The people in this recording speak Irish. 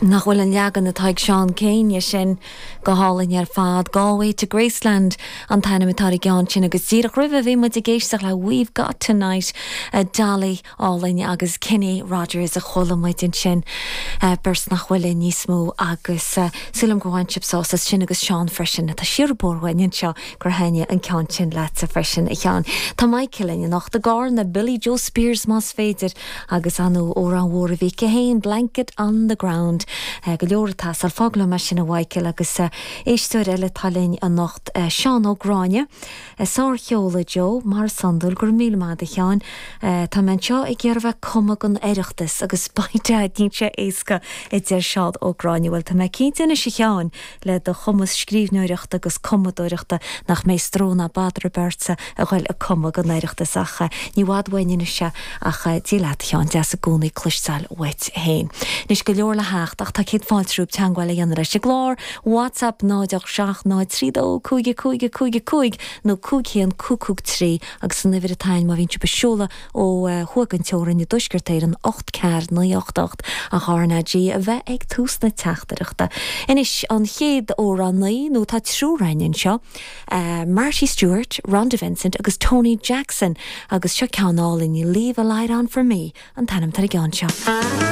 Nach bhfuil an leagan atá ag Seán Kyne dhe sin go hálainn ar fad. Galway to Graceland an t-ainm atá ar an gceann sin agus díreach roimhe bhí muid ag éisteacht le We've Got Tonight, Dolly álainn agus Kenny Rogers a chuala muid ansin, beirt nach bhfuil linn níos mó agus súil agam gur bhain sibh sásamh as sin agus Seán freisin atá siar an bóthar uainn anseo gur thaitnigh an ceann sin leatsa freisin a Sheáin. Tá Michael linn anocht i gCarna, Billie Jo Spears más féidir. Agus ar ndóigh amhrán mhór a bhí aici féin, Blanket on the Ground. Go leor ag teastáil. Fág liom é sin a Mhichael agus éisteoir eile atá linn anocht, Seán Ó Gráinne. Sárcheol a Joe, mar is iondúil. Go raibh míle maith agat a Sheáin. Tá mé anseo ag iarraidh bheith ag cumadh don Oireachtas agus by dad níl sé éasca a deir Seán Ó Gráinne. Bhuel tá mé cinnte anois a Sheáin le do chumas scríbhneoireachta agus cumadóireachta nach mbeidh stró ná bother ar bith ortsa a ghoil ag cumadh don Oireachtas ach ní i bhfad uainn anois é ach Dia leat a Sheáin, deas i gcónaí cloisteáil uait féin. Anois go leor le theacht ach tá céad fáilte romhaibh teagmháil a dhéanamh leis an gclár, WhatsApp 0 8 7 0 3 2 5 5 5 5 nó 5 1 5 5 3 agus an uimhir atá ann má bhíonn sibh ag seoladh ó thuaidh den teorainn i dTuaisceart Éireann 8 4 9 8 8 ach RnaG a bheith ag tús na teachtaireachta. Anois an chéad amhránaí, nó tá triúr againn anseo, Marty Stuart, Rhonda Vincent agus Tony Jackson agus seo ceann álainn, Leave a Light On For Me an t-ainm atá ar an gceann seo.